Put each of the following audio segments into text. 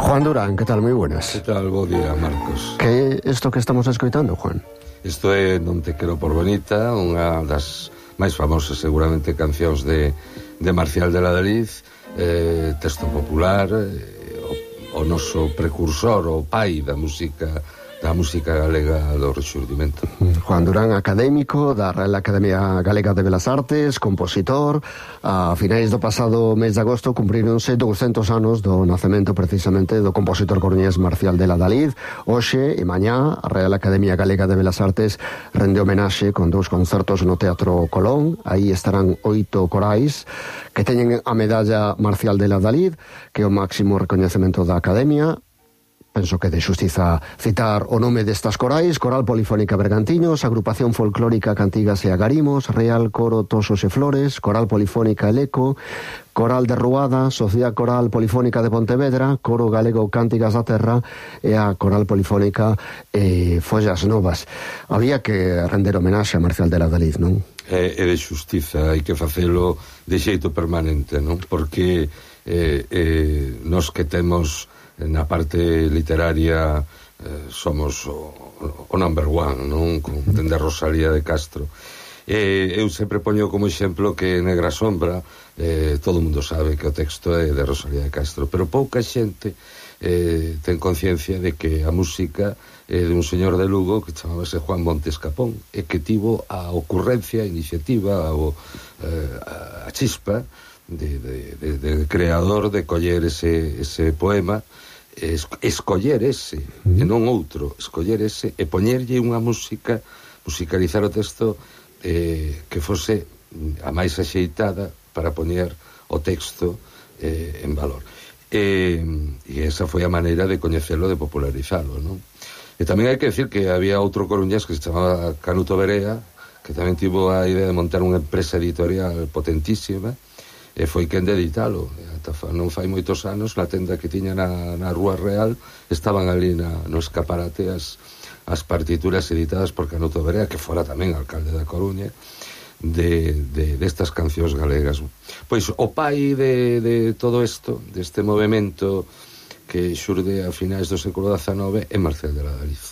Juan Durán, ¿qué tal? Moi buenas. Que tal? Bo día, Marcos. Que é isto que estamos escoitando, Juan? Isto é Non te quero por bonita, unha das máis famosas seguramente cancións de Marcial de Ladalid, texto popular, o noso precursor, o pai da música galega do Rexurdimento. Juan Durán, académico da Real Academia Galega de Belas Artes, compositor. A finais do pasado mes de agosto cumpríronse 200 anos do nacemento precisamente do compositor coruñés Marcial de Ladalid. Hoxe e mañá a Real Academia Galega de Belas Artes rende homenaxe con 2 concertos no Teatro Colón. Aí estarán 8 corais que teñen a medalla Marcial de Ladalid, que é o máximo recoñecemento da Academia. Penso que de xustiza citar o nome destas corais: Coral Polifónica Bergantiños, Agrupación Folclórica Cantigas e Agarimos, Real Coro Tosos e Flores, Coral Polifónica Eleco, Coral de Ruada, Sociedade Coral Polifónica de Pontevedra, Coro Galego Cántigas da Terra e a Coral Polifónica Follas Novas. Había que render homenaxe a Marcial de Ladalid, non? É de xustiza, hai que facelo de xeito permanente, non? Porque nos que temos na parte literaria somos o number one, non? Dende a Rosalía de Castro. Eu sempre poño como exemplo que Negra Sombra, todo o mundo sabe que o texto é de Rosalía de Castro, pero pouca xente ten conciencia de que a música é de un señor de Lugo que chamábase Juan Montes Capón, e que tivo a ocurrencia, a iniciativa, a chispa de creador de coller ese poema, escoller ese e non outro, escoller ese e poñerlle unha música, musicalizar o texto que fose a máis axeitada para poñer o texto en valor, e esa foi a maneira de coñecelo, de popularizalo, non? E tamén hai que decir que había outro coruñés que se chamaba Canuto Berea, que tamén tivo a idea de montar unha empresa editorial potentísima, e foi quen de editalo. Non fai moitos anos, na tenda que tiña na Rúa Real, estaban ali no escaparate as partituras editadas por Canuto Berea, que fora tamén alcalde da Coruña, destas cancións galegas. Pois o pai de todo isto, deste movimento que xurde a finais do século XIX, é Marcial de Ladalid.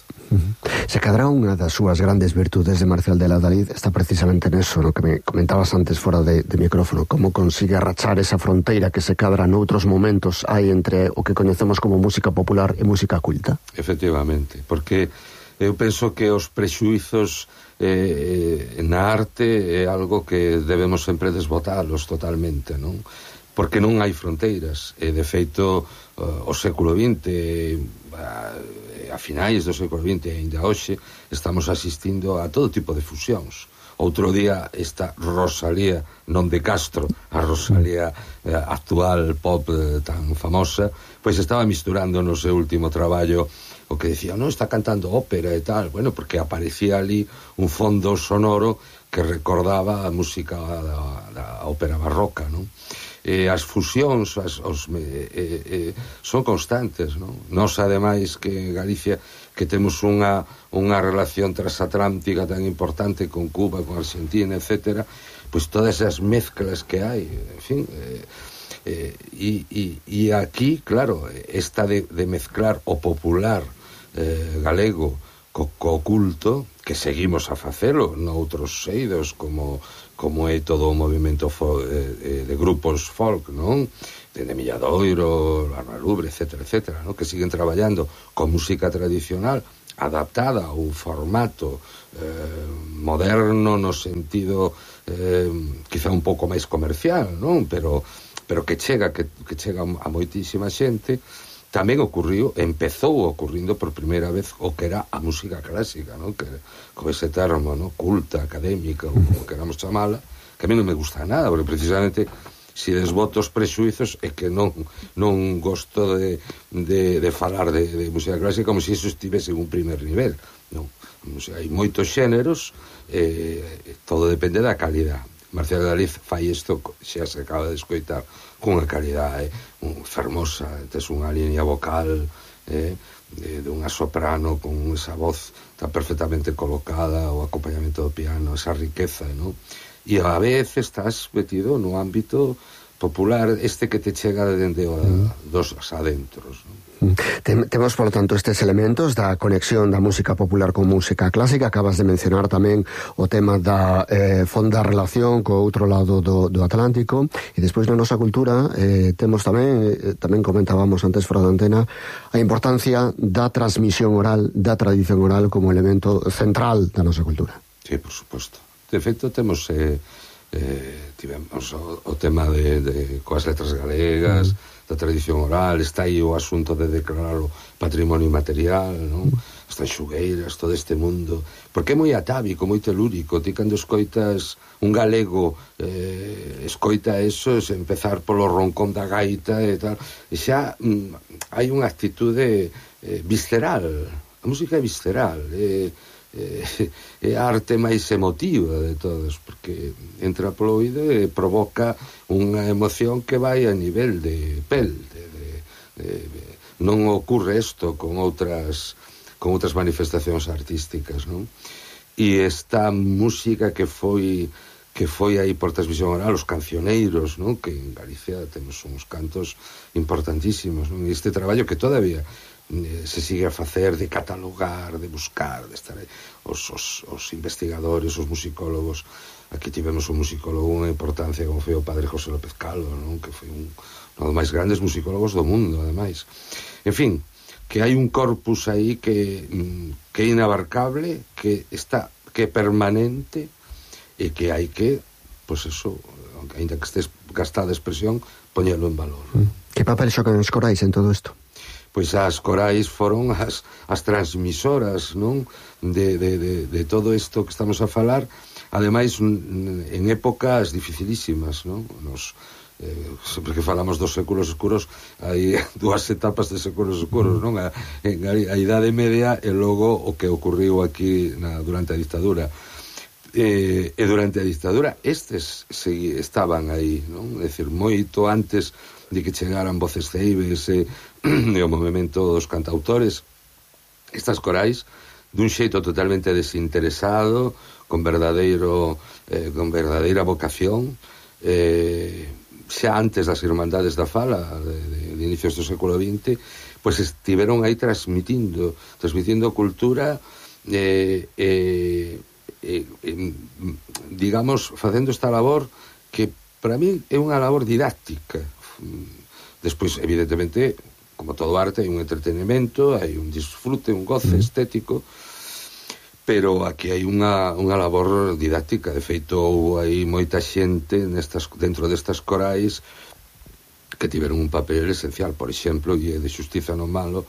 Se cadra unha das súas grandes virtudes de Marcial de Ladalid está precisamente neso, no que me comentabas antes fora de micrófono, como consigue arrachar esa fronteira que se cadra noutros momentos hai entre o que coñecemos como música popular e música culta. Efectivamente, porque eu penso que os prexuizos na arte é algo que debemos sempre desbotalos totalmente, non? Porque non hai fronteiras, e de feito o século XX, a finais do século XX e ainda hoxe, estamos asistindo a todo tipo de fusións. Outro día esta Rosalía non de Castro, a Rosalía actual pop tan famosa, pois estaba misturando no seu último traballo o que decía, non, está cantando ópera e tal, bueno, porque aparecía ali un fondo sonoro que recordaba a música da ópera barroca, non? As fusións son constantes, non? Nos, ademais, que Galicia, que temos unha relación transatlántica tan importante con Cuba, con Argentina, etcétera, pois todas as mezclas que hai, en fin, e aquí, claro, esta de mezclar o popular galego co culto, que seguimos a facelo noutros eidos, como é todo o movimento de grupos folk, non? De Milladoiro, Arnalubre, etcétera, non? Que siguen traballando con música tradicional adaptada a un formato moderno no sentido quizá un pouco máis comercial, non? Pero que chega a moitísima xente. Tamén empezou ocurrindo por primeira vez o que era a música clásica, non? Que con ese termo, non? Culta, académica, ou como queramos chamala, que a mí non me gusta nada, porque precisamente se desboto os prexuizos é que non gosto de falar de música clásica como se iso estivese en un primer nivel, non? Hai moitos xéneros, todo depende da calidad. Marcial de Ladalid fai isto, xa se acaba de escoitar, cunha calidade fermosa, tes unha línea vocal dunha soprano con esa voz tan perfectamente colocada, o acompañamento do piano, esa riqueza, non? E a vez estás metido no ámbito popular, este que te chega dende dos adentros, non? Temos, polo tanto, estes elementos da conexión da música popular con música clásica. Acabas de mencionar tamén o tema da fonda relación co outro lado do Atlántico, e despois na nosa cultura temos tamén comentábamos antes fora da antena, a importancia da transmisión oral, da tradición oral como elemento central da nosa cultura. Sí, por suposto. De feito, temos tivemos o tema de coas letras galegas, da tradición oral, está aí o asunto de declarar o patrimonio material, non? As tanxugueiras, todo este mundo, porque é moi atávico, moi telúrico. Ti cando escoitas un galego escoita eso, empezar polo roncón da gaita e tal, e xa hai unha actitude visceral. A música é visceral, é a arte máis emotiva de todos, porque entra polo oído e provoca unha emoción que vai a nivel de pel. Non ocurre isto con outras manifestacións artísticas, non? E esta música que foi aí por transmisión oral, os cancioneiros, non? Que en Galicia temos uns cantos importantísimos, non? E este traballo que todavía se sigue a facer de catalogar, de buscar, de estar aí. Os investigadores, os musicólogos. Aquí tivemos un musicólogo unha importancia como foi o padre José López Calvo, non? Que foi un dos máis grandes musicólogos do mundo, ademais. En fin, que hai un corpus aí que é inabarcable, que é permanente e que hai que, pois eso, ainda que estés gastada a expresión, poñelo en valor. Que papel xocan os corais en todo isto? Pois as corais foron as transmisoras, non? De todo isto que estamos a falar, ademais en épocas dificilísimas, non? Sempre que falamos dos séculos escuros, hai dúas etapas de séculos escuros, non? A Idade Media e logo o que ocurriu aquí durante a dictadura. E durante a dictadura estes estaban aí, non? É dicir, moito antes de que chegaran Voces Ceibes e o movimento dos cantautores, estas corais dun xeito totalmente desinteresado, con verdadeira vocación, xa antes das Irmandades da Fala de inicios do século XX, pois estiveron aí transmitindo cultura, digamos, facendo esta labor que para mí é unha labor didáctica. Despois, evidentemente, como todo arte, hai un entretenimento, hai un disfrute, un goce estético, pero aquí hai unha labor didáctica. De feito, houve aí moita xente dentro destas corais que tiveron un papel esencial. Por exemplo, e de xustiza nomealo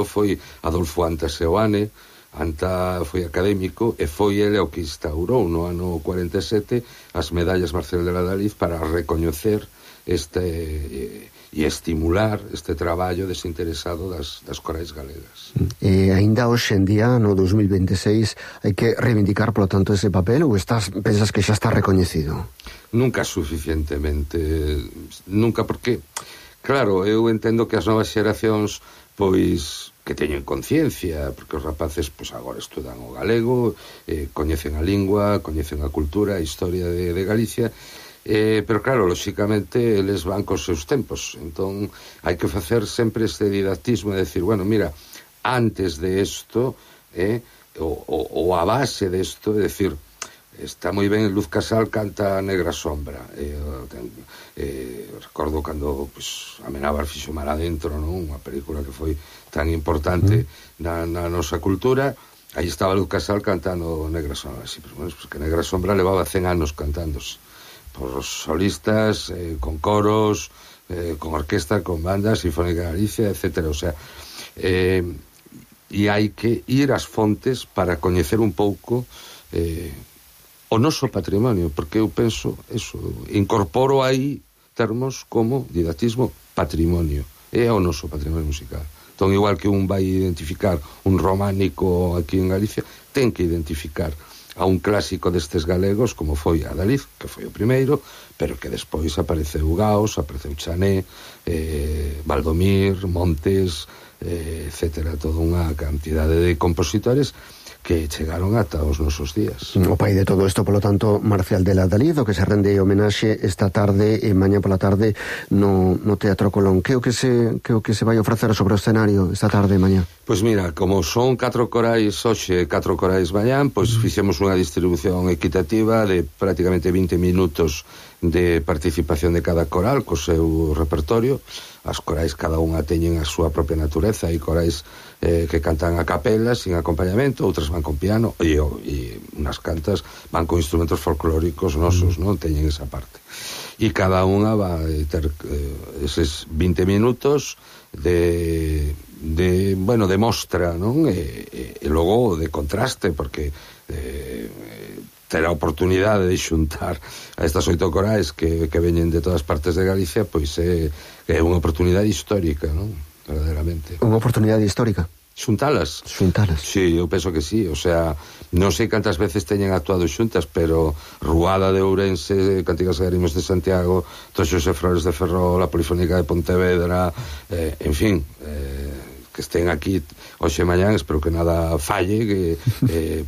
foi Adolfo Anta Seoane. Anta foi académico e foi ele o que instaurou no ano 47 as medallas Marcel de la Daliz para recoñecer e estimular este traballo desinteresado das corais galegas. E aínda hoxe en día, no 2026, hai que reivindicar, polo tanto, ese papel, ou pensas que xa está recoñecido? Nunca suficientemente, nunca, porque claro, eu entendo que as novas xeracións pois que teñen conciencia, porque os rapaces pois agora estudan o galego, coñecen a lingua, coñecen a cultura, a historia de Galicia, pero claro, lóxicamente eles van cos seus tempos, entón hai que facer sempre este didactismo de decir, bueno, mira, antes de isto ou a base de isto, é decir, está moi ben, Luz Casal canta Negra Sombra, recordo cando pues, Amenábar fixo Mar Adentro, non? Unha película que foi tan importante na nosa cultura. Aí estaba Luz Casal cantando Negra Sombra, sí, pero bueno, pues que Negra Sombra levaba 100 anos cantándose por solistas, con coros, con orquesta, con bandas, Sinfónica de Galicia, etcétera. O sea, e hai que ir ás fontes para coñecer un pouco o noso patrimonio, porque eu penso eso, incorporo aí termos como didactismo patrimonio, é o noso patrimonio musical. Entón, igual que un vai identificar un románico aquí en Galicia, ten que identificar a un clásico destes galegos como foi Adaliz, que foi o primeiro, pero que despois apareceu Gaos, apareceu Chané, Valdomir, Montes, etcétera, toda unha cantidade de compositores que chegaron ata os nosos días. O pai de todo isto, polo tanto, Marcial de la Dalí, do que se rende homenaxe esta tarde e mañá pola tarde no Teatro Colón. Que o que se vai ofrecer sobre o escenario esta tarde e mañá? Pois mira, como son 4 corais hoxe e 4 corais mañán, pois fixemos unha distribución equitativa de prácticamente 20 minutos de participación de cada coral co seu repertorio. As corais cada unha teñen a súa propia natureza, e corais que cantan a capela sin acompañamento, outras van con piano e unas cantas van con instrumentos folclóricos nosos, non teñen esa parte, e cada unha va a ter eses 20 minutos de mostra, non? E logo de contraste, porque ter a oportunidade de xuntar a estas 8 corais que veñen de todas partes de Galicia, pois é unha oportunidade histórica, non? Verdaderamente. Unha oportunidade histórica? Xuntalas. Sí, eu penso que sí. O sea, non sei cantas veces teñen actuado xuntas, pero Ruada de Ourense, Cantigas e Arimos de Santiago, Toxos e Flores de Ferrol, a Polifónica de Pontevedra, en fin, que estén aquí hoxe e mañán, espero que nada falle, que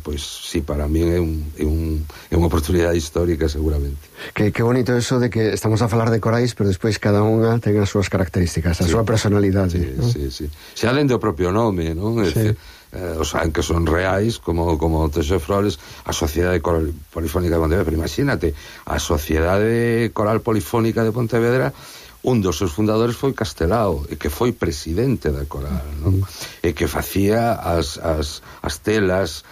pois sí, para mí é unha oportunidade histórica seguramente. Que bonito eso de que estamos a falar de corais, pero despois cada unha ten as súas características, a súa personalidade. Sí, ¿no? Sí. Se alén do propio nome, non? Sí. Os que son reais, como Toxos e Flores, a Sociedade Coral Polifónica de Pontevedra, pero imagínate, a Sociedade Coral Polifónica de Pontevedra, un dos seus fundadores foi Castelao, e que foi presidente da coral, non? E que facía as telas,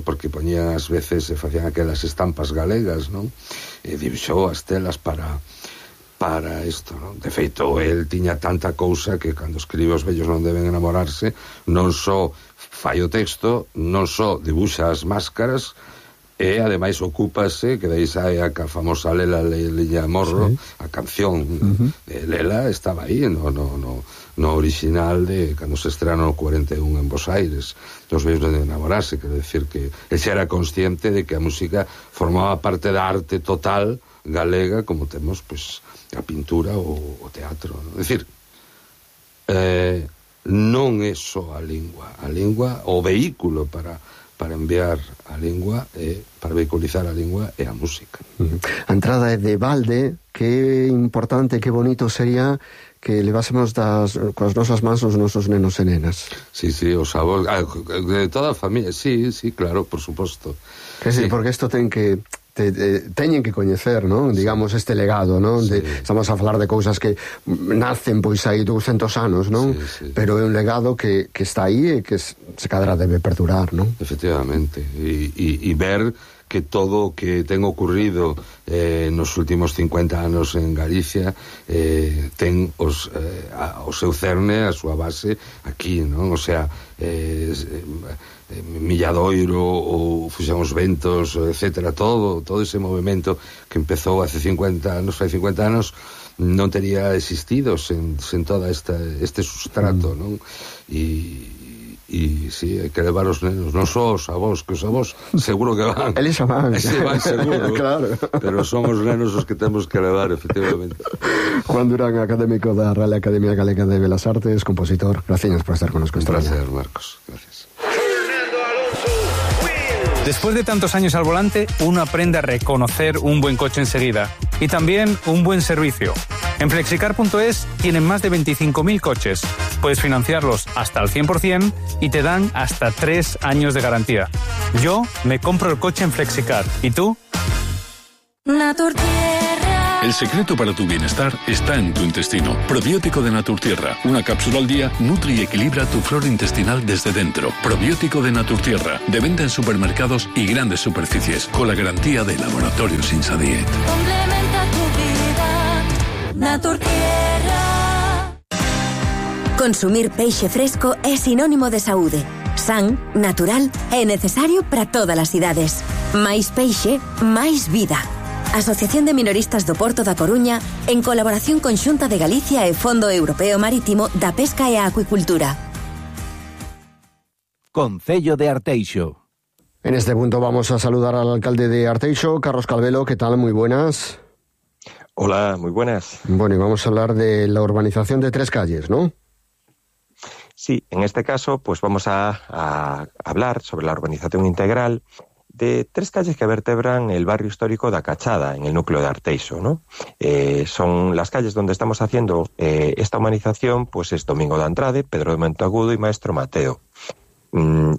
porque poñían ás veces, facían aquelas estampas galegas, non? E dibixou as telas para isto, non? De feito, el tiña tanta cousa que cando escribe Os vellos non deben enamorarse, non só fai o texto, non só dibuxa as máscaras, e ademais ocúpase, que dai sae a famosa Lela Liña Morro, a canción de Lela estaba aí no original de cando se estrena no 41 en Bos Aires, Os vellos non deben enamorarse, quero decir que el xa era consciente de que a música formaba parte da arte total galega, como temos pois a pintura ou o teatro, non? É dicir, non é só a lingua, o vehículo para enviar a lingua e para vehiculizar a lingua e a música. A entrada é de balde, que importante, que bonito sería que levásemos coas nosas mans os nosos nenos e nenas. Sí, os avós, de toda a familia, sí, claro, por suposto. Que sí, porque isto teñen que coñecer, non? Digamos, este legado, non? Sí. Estamos a falar de cousas que nacen pois aí 200 anos, non? Sí. Pero é un legado que está aí e que se cadra debe perdurar, non? Efectivamente, e ver que todo o que ten ocurrido nos últimos 50 anos en Galicia ten o seu cerne, a súa base aquí, non? O sea, Milladoiro ou Fuxan os Ventos, etcétera, todo ese movimento que empezou hace 50 anos non tería existido sen toda este sustrato, non? E sí, hai que levar os nenos, non só os avós, que os avós seguro que van. Eles van. Se van seguro. Claro. Pero son os nenos os que temos que levar, efectivamente. Juan Durán, académico da Real Academia Galega de Belas Artes, compositor. Gracias por estar con nosotros. Un placer, Marcos. Gracias. Después de tantos años al volante, uno aprende a reconocer un buen coche enseguida y también un buen servicio. En Flexicar.es tienen más de 25.000 coches. Puedes financiarlos hasta al 100% y te dan hasta 3 años de garantía. Yo me compro el coche en Flexicar. ¿Y tú? Naturtierra. El secreto para tu bienestar está en tu intestino. Probiótico de Naturtierra. Una cápsula al día nutre y equilibra tu flora intestinal desde dentro. Probiótico de Naturtierra. De venta en supermercados y grandes superficies. Con la garantía de Laboratorios Insadiet. Complementa tu vida. Naturtierra. Consumir peixe fresco é sinónimo de saúde. San, natural e necesario para todas as idades. Máis peixe, máis vida. Asociación de Minoristas do Porto da Coruña, en colaboración con Xunta de Galicia e Fondo Europeo Marítimo da Pesca e a Acuicultura. Concello de Arteixo. En este punto vamos a saludar al alcalde de Arteixo, Carlos Calvelo. ¿Qué tal? Muy buenas. Hola, muy buenas. Bueno, y vamos a hablar de la urbanización de 3 calles, ¿no? Sí, en este caso pues vamos a hablar sobre la urbanización integral de 3 calles que vertebran el barrio histórico da Cachada, en el núcleo de Arteixo, ¿no? Son las calles donde estamos haciendo esta humanización, pues es Domingo de Andrade, Pedro de Monteagudo y Maestro Mateo.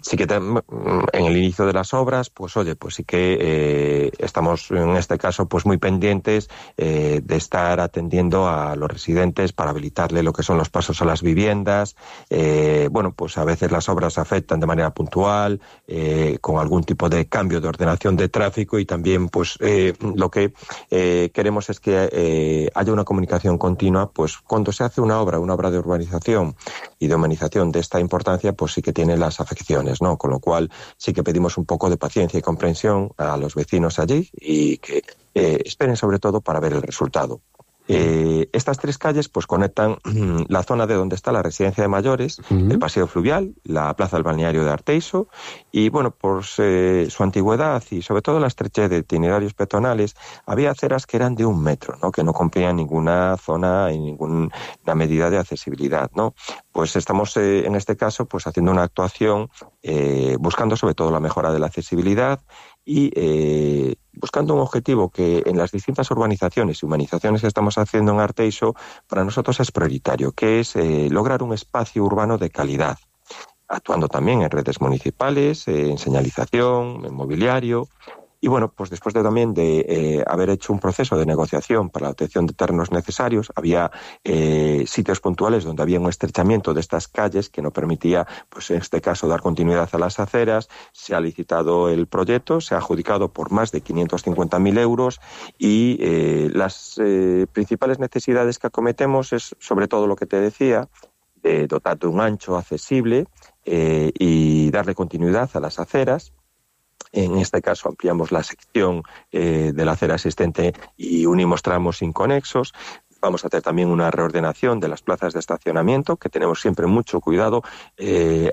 Sí que en el inicio de las obras, pues oye, pues sí que estamos en este caso pues muy pendientes de estar atendiendo a los residentes para habilitarle lo que son los pasos a las viviendas. Bueno, pues a veces las obras afectan de manera puntual, con algún tipo de cambio de ordenación de tráfico, y también pues lo que queremos es que haya una comunicación continua, pues cuando se hace una obra de urbanización y de humanización de esta importancia, pues sí que tiene las afecciones, ¿no? Con lo cual sí que pedimos un poco de paciencia y comprensión a los vecinos allí, y que esperen sobre todo para ver el resultado. Estas 3 calles pues conectan la zona de donde está la residencia de mayores, el paseo fluvial, la plaza del balneario de Arteixo, y bueno, por su antigüedad y sobre todo la estrechez de itinerarios peatonales, había aceras que eran de 1 metro, ¿no? Que no cumplían ninguna zona y ninguna medida de accesibilidad, ¿no? Pues estamos en este caso pues haciendo una actuación buscando sobre todo la mejora de la accesibilidad y buscando un objetivo que en las distintas urbanizaciones y humanizaciones que estamos haciendo en Arteixo para nosotros es prioritario, que es lograr un espacio urbano de calidad, actuando también en redes municipales, en señalización, en mobiliario. Y bueno, pues después también de haber hecho un proceso de negociación para la obtención de terrenos necesarios, había sitios puntuales donde había un estrechamiento de estas calles que no permitía, pues en este caso, dar continuidad a las aceras. Se ha licitado el proyecto, se ha adjudicado por más de 550.000 euros y las principales necesidades que acometemos es sobre todo lo que te decía, dotar de un ancho accesible y darle continuidad a las aceras. En este caso ampliamos la sección de la acera existente y unimos tramos inconexos. Vamos a hacer también una reordenación de las plazas de estacionamiento, que tenemos siempre mucho cuidado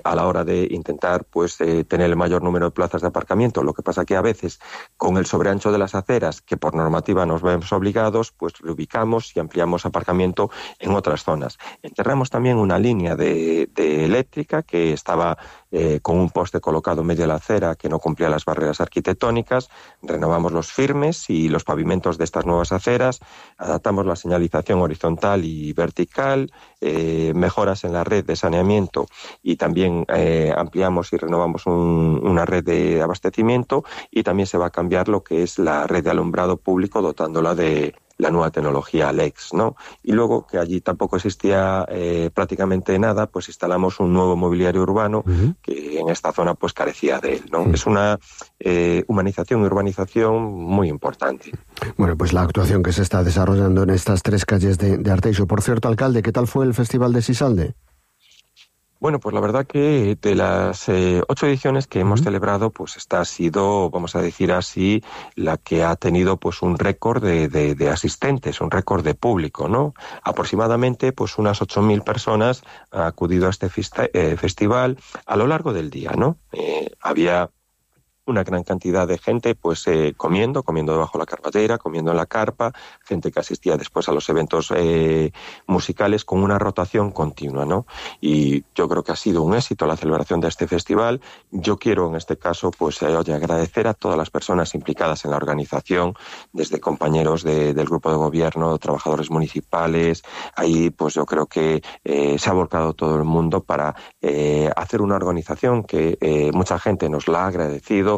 a la hora de intentar pues tener el mayor número de plazas de aparcamiento. Lo que pasa que a veces con el sobreancho de las aceras, que por normativa nos vemos obligados, pues reubicamos y ampliamos aparcamiento en otras zonas. Enterramos también una línea de eléctrica que estaba con un poste colocado en medio de la acera que no cumplía las barreras arquitectónicas. Renovamos los firmes y los pavimentos de estas nuevas aceras, adaptamos la señalización horizontal y vertical, mejoras en la red de saneamiento y también ampliamos y renovamos una red de abastecimiento, y también se va a cambiar lo que es la red de alumbrado público dotándola de la nueva tecnología LEX, ¿no? Y luego, que allí tampoco existía prácticamente nada, pues instalamos un nuevo mobiliario urbano que en esta zona pues carecía de él, ¿no? Es una humanización y urbanización muy importante. Bueno, pues la actuación que se está desarrollando en estas 3 calles de Arteixo. Por cierto, alcalde, ¿qué tal fue el Festival de Sisalde? Bueno, pues la verdad que de las 8 ediciones que hemos celebrado, pues esta ha sido, vamos a decir así, la que ha tenido pues un récord de asistentes, un récord de público, ¿no? Aproximadamente pues unas 8.000 personas han acudido a este festival a lo largo del día, ¿no? Había una gran cantidad de gente pues comiendo debajo de la carpatera, comiendo en la carpa, gente que asistía después a los eventos musicales con una rotación continua, ¿no? Y yo creo que ha sido un éxito la celebración de este festival. Yo quiero en este caso pues agradecer a todas las personas implicadas en la organización, desde compañeros del grupo de gobierno, trabajadores municipales. Ahí pues yo creo que se ha volcado todo el mundo para hacer una organización que mucha gente nos la ha agradecido.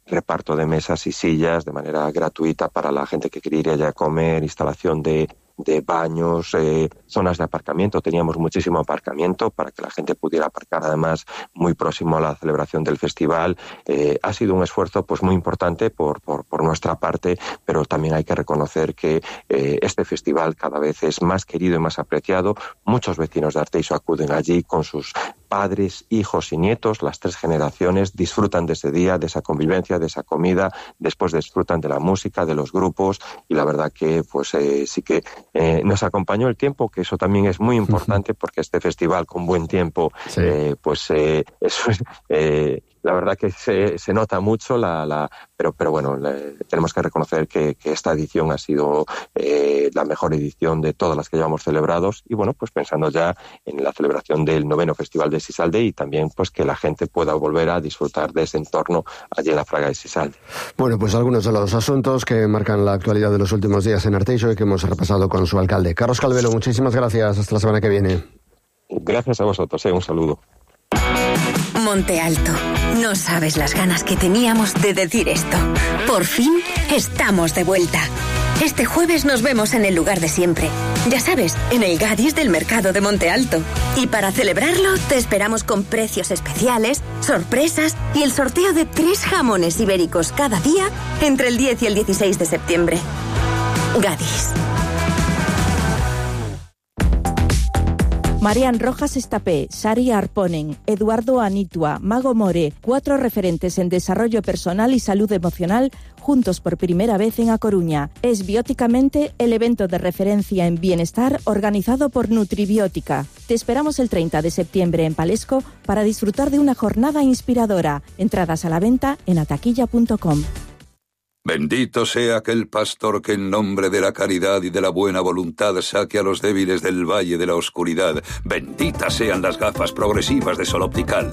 Reparto de mesas y sillas de manera gratuita para la gente que quería ir allá a comer, instalación de baños, zonas de aparcamiento. Teníamos muchísimo aparcamiento para que la gente pudiera aparcar, además muy próximo a la celebración del festival. Ha sido un esfuerzo pues muy importante por nuestra parte, pero también hay que reconocer que este festival cada vez es más querido y más apreciado. Muchos vecinos de Arteixo acuden allí con sus padres, hijos y nietos. Las 3 generaciones disfrutan de ese día, de esa convivencia, de esa comida, después disfrutan de la música, de los grupos, y la verdad que pues sí que nos acompañó el tiempo, que eso también es muy importante, porque este festival con buen tiempo, pues eso la verdad que se nota mucho, pero bueno, tenemos que reconocer que esta edición ha sido la mejor edición de todas las que llevamos celebrados, y bueno, pues pensando ya en la celebración del 9º Festival de Sisalde, y también pues que la gente pueda volver a disfrutar de ese entorno allí en la Fraga de Sisalde. Bueno, pues algunos de los asuntos que marcan la actualidad de los últimos días en Arteixo y que hemos repasado con su alcalde. Carlos Calvelo, muchísimas gracias. Hasta la semana que viene. Gracias a vosotros, un saludo. Monte Alto. No sabes las ganas que teníamos de decir esto. Por fin estamos de vuelta. Este jueves nos vemos en el lugar de siempre. Ya sabes, en el Gadis del Mercado de Monte Alto. Y para celebrarlo, te esperamos con precios especiales, sorpresas y el sorteo de 3 jamones ibéricos cada día entre el 10 y el 16 de septiembre. Gadis. Marian Rojas Estapé, Sari Arponen, Eduardo Anitua, Mago More, 4 referentes en desarrollo personal y salud emocional, juntos por primera vez en A Coruña. Es Bióticamente el evento de referencia en bienestar organizado por Nutribiótica. Te esperamos el 30 de septiembre en Palesco para disfrutar de una jornada inspiradora. Entradas a la venta en ataquilla.com. Bendito sea aquel pastor que en nombre de la caridad y de la buena voluntad saque a los débiles del valle de la oscuridad. Benditas sean las gafas progresivas de Sol Optical.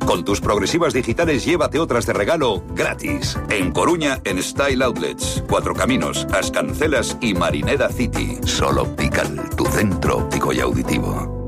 Con tus progresivas digitales llévate otras de regalo gratis. En Coruña, en Style Outlets, 4 Caminos, Ascancelas y Marineda City. Sol Optical, tu centro óptico y auditivo.